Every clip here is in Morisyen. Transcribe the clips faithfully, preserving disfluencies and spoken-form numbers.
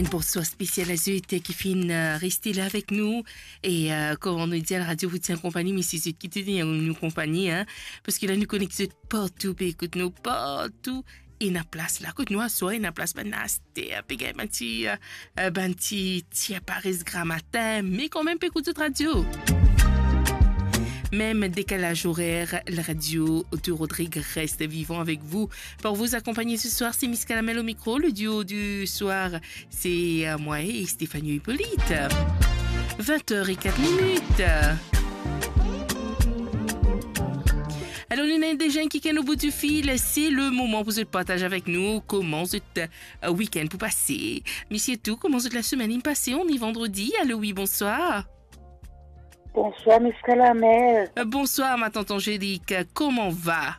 Bonswar spesial a zot ki finn, eh, reste la avek nou. E, eh, kouma nou dir, laradio pou tenir konpagni, me se zot ki tenir nou konpagni, hein. Parski la nou konekte partou, pe ekout nou partou. Ena plas la, kot nou aswar, ena plas bann aster, pe gagn bann ti, eh, eh, bann ti, ti apares gramatin, me kanmem pe ekout zot radio. Même décalage horaire, la radio de Rodrigue reste vivant avec vous. Pour vous accompagner ce soir, c'est Miss Kalamel au micro. Le duo du soir, c'est, euh, moi et Stéphanie Hippolyte. Vingt heures et quatre minutes. Alors, nou ena deza enn kikenn o bout di fil. Se le moman pou zot partaz avek nou kouma zot, euh, week-end pou pase. Misie tou, kouma zot lasemenn inn pase? On est vendredi. Allô, oui, bonsoir. Bonswar, Miss Kalamel. Euh, bonsoir, ma tante Angélique. Comment va?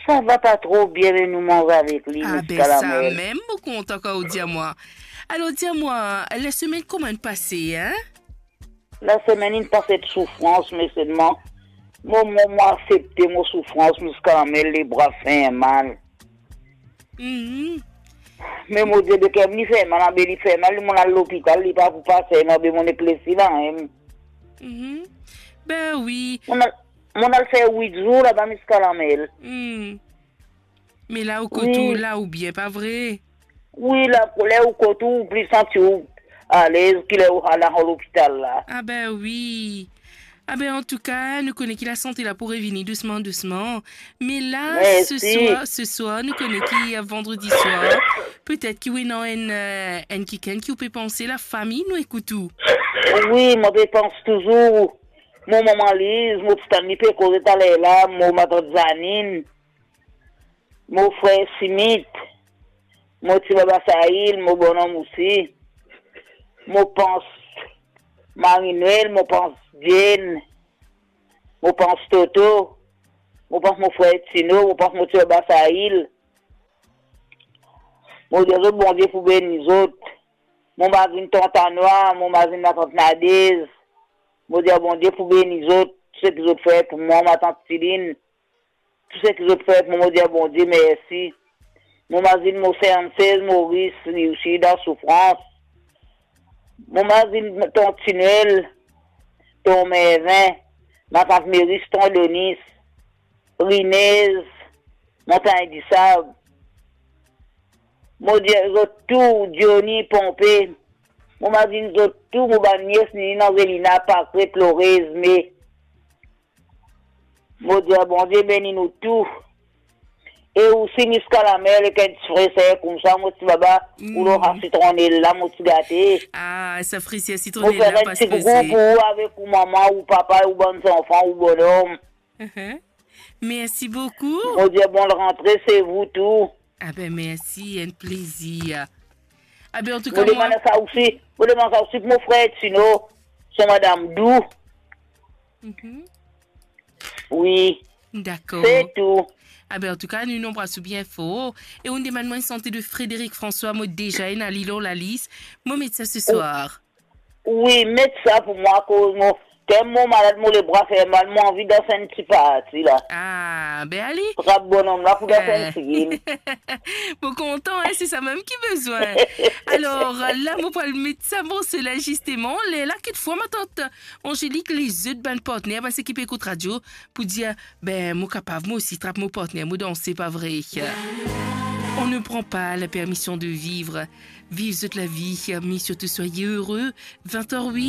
Sa va pa tro bien, me nou manz avek li, Ah, Miss ben, sa Kalamel. Mem, mo kontan kan ou dir mwa. Alor, dir mwa, lasemenn kouma inn pase, hein? Lasemenn inn pase de soufrans, me selman, mo, mo, mo aksepte mo soufrans, Miss Kalamel, lebra fer mal. Mhm. Me mo dir, be ker li fer mal, be li fer mal, li monn al lopital, li pa pou pase, mo be monn ek lesi la, hein. Mhm. Ben wi. Monn al, monn al fer wit zour laba, Miss Kalamel. Hmm. Me la ou kot ou, Wi. La ou bien, pa vre? Wi, la, ler ou kot ou, ou pli santi ou alez ki ler ou al dan lopital la. Ah ben wi. Ah ben, antouka, nou kone ki lasante la pou revini dousman, dousman. Me la, Mersi. Se swar, se swar, nou kone ki, euh, vandredi swar. Petet ki ou ena enn, euh, enn kikenn ki ou pe panse, lafami, nou ekout ou. Wi, mo pe pans touzour mo mama Liz, mo ti tann li pe koze taler la, mo matant Zaninn, mo frer Simit, mo ti baba Sahil, mo bonom osi. Mo pans Marie-Noël, mo pans Jane, mo pans Toto, mo pans mo frer Tino, mo pans mo ti baba Sahil. Mo dir zot, Bondie pou beni zot. Mo mazinn tant Anwa, mo mazinn latant Nadez. Mo dir Bondie pou beni zot, tou seki zot fer pou mwa, matant Tiline. Tou seki zot fer pou mwa, mo dir Bondie mersi. Mo mazinn mo ser Ansez, Moris, li osi dan soufrans. Mo mazinn ton Tinwel, ton Mervin, matant Meris, ton Donis, Rinez, Montagne du Sable. Mo dir zot tou, Diony, Ponpe. Mo mazinn zot tou, mo bann nies, Nini, Anzelina, Pakret, Lorez, me. Mo dir Bondie beni nou tou. E osi Miss Kalamel, ek enn ti freser koumsa, mo ti baba, Mm. ou lor sa sitronel la, mo ti gate. Ah, sa freser Mo sitronel fer la, enn ti koukou pou ou, avek ou mama, ou papa, ou bann zanfan, ou bonom. Uh-huh. Mersi boukou. Mo dir bonn rantre, se vou tou. Ah ben, mersi, enn plezir. Ah ben, antouka, Mo mwa demann sa osi, mo demann sa osi pou mo frer Tino, so madam Dou. Mhm. Wi. Dakor. Se tou. Ah ben, antouka, nou anbras ou bien for. E ou demann mwa enn sante de Frédéric François, mo deza ena li lor lalis. Mo met sa se swar. Wi, met sa pou mwa, koz mo, telman mo malad, mo lebra fer mal, mo anvi dans enn ti parti la. Ah, ben ale. Trap bonom la pou dans enn Eh. ti gim. Mo kontan, hein, se sa mem ki bizin. Alor, la, mo pou al met sa morso la, zisteman. Lerla, kikfwa, matant Angélique, lezot bann partner, bann seki pe ekout radio, pou dir, ben, mo kapav, mo osi, trap mo partner, mo danse, pa vre? On ne prend pas la permission de vivre. Viv zot lavi, mais surtout soyez heureux. Vingt heures huit.